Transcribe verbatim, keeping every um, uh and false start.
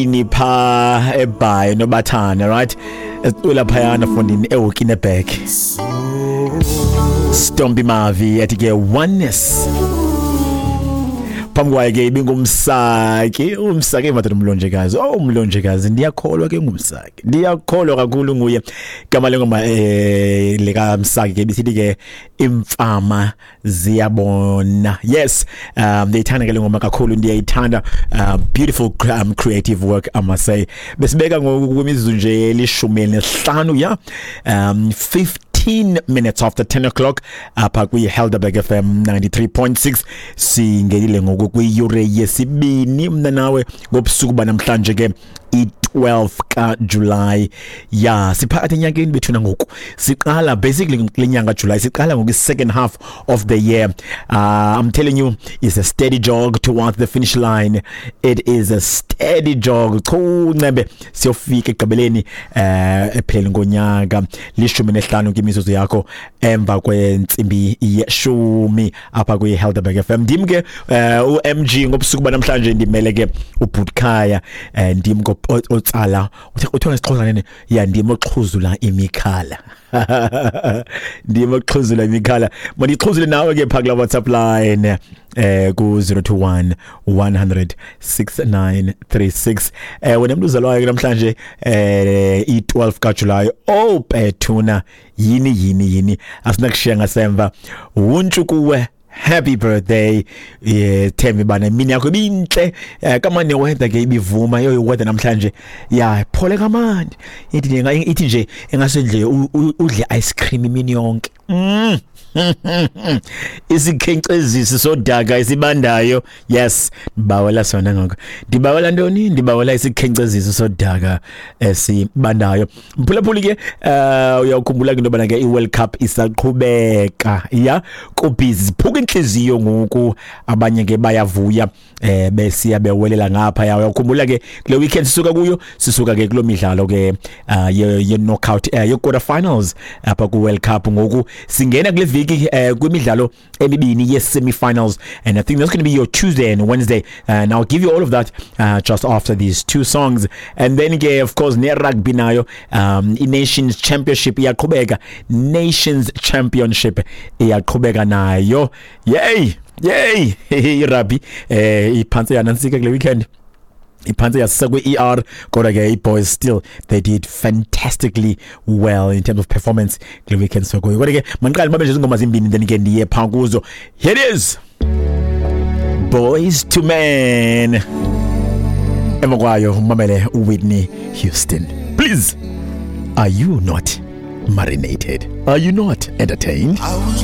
Pha eBhayi nobathana, right, esicula phayana fondini eWokinebek. Stompie Mavi ethi ke "Oneness". Phambi kwayo ke ibingumsaki, umsaki madoda, umlonjekazi. Oh, umlonjekazi, ndiyakholwa ke ngumsaki, ndiyakholwa kakhulu nguye. Igama lengoma eh leka Msaki ke bisithi ke "Imfama Ziyabona". Yes, um ndiyithanda ke le ngoma kakhulu, ndiyayithanda. uh, beautiful um, creative work, I must say. Besibeka ngoku kwimizuzu nje elishumi nesihlanu, ya, um fifteen minutes after ten o'clock apha kwi-Helderberg F M ninety-three point six. Singenile ngoku kwiyure yesibini mna nawe ngobusuku banamhlanje ke, i-twelve kaJuly. Ya, siphakathi enyakeni bethuna ngoku. Siqala basically kule nyanga July, siqala ngoku second half of the year. uh, I'm telling you, it's a steady jog towards the finish line. It is a steady jog chu ncembe siyofika ekugqibeleni eh epheleni ngonyaka. Lishumi nesihlanu kwimizuzu yakho emva kwentsimbi yeshumi apha kwi-Helderberg F M. Ndim ke eh u-M G ngobusuku banamhlanje, ndimele ke uBhutkhaya. eh ndim otsala, uthiwa ngesiXhosa nene, ya, ndim oxhuzula imikhala, ndim oxhuzula imikhala. Mandixhuzule nawe ke pha kula WhatsApp line eh ku zero two one one hundred six nine three six. eh wena mntu uzalwayo namhlanje eh i-twelve kaJuly, oh bethuna, yini yini yini, asinakushiya ngasemva. Wuntshu kuwe, happy birthday. Yeah, thembi bana imini yakho ibintle eh kama ne weather ke ibivuma yo weather namhlanje. Ya, phole kamandi, ithi ithi nje engasendle udle ice cream imini yonke. mm. Isikhenkcezisi sodaka isibandayo. Yes, ndibawela sona ngoko. Ndibawela ntoni? Ndibawela isikhenkcezisi sodaka esibandayo. Mphulaphuli ke, eh uyakhumbula ke into yobana ke i-World Cup isaqhubeka. Ya, kubhizi, ziphuka inhliziyo ngoku, abanye ke bayavuya eh besiya bewelela ngapha. Ya, uyakhumbula ke kule weekend sisuka kuyo, sisuka ke kulo midlalo ke uh, ye, ye knockout, uh, ye quarter finals apha ku World Cup. Ngoku singena kule viki uh, kwimidlalo emibini ye semi-finals, and I think that's going to be your Tuesday and Wednesday, and I'll give you all of that uh, just after these two songs. And then ke, of course, ne rugby nayo, um i Nations Championship iyaqhubeka, Nations Championship iyaqhubeka nayo. Yay yay, i rugby eh iphantse yanansika kule weekend, iphantse yasisa kwe-E R, kodwa ke i-boys still, they did fantastically well in terms of performance kule weekend. So kuyo, kodwa ke mandiqale babe nje izingoma zimbini, then ke ndiye phaa kuzo. Here it is, Boyz two Men. Emva kwayo umamele uWhitney Houston. Please, are you not marinated? Are you not entertained? I was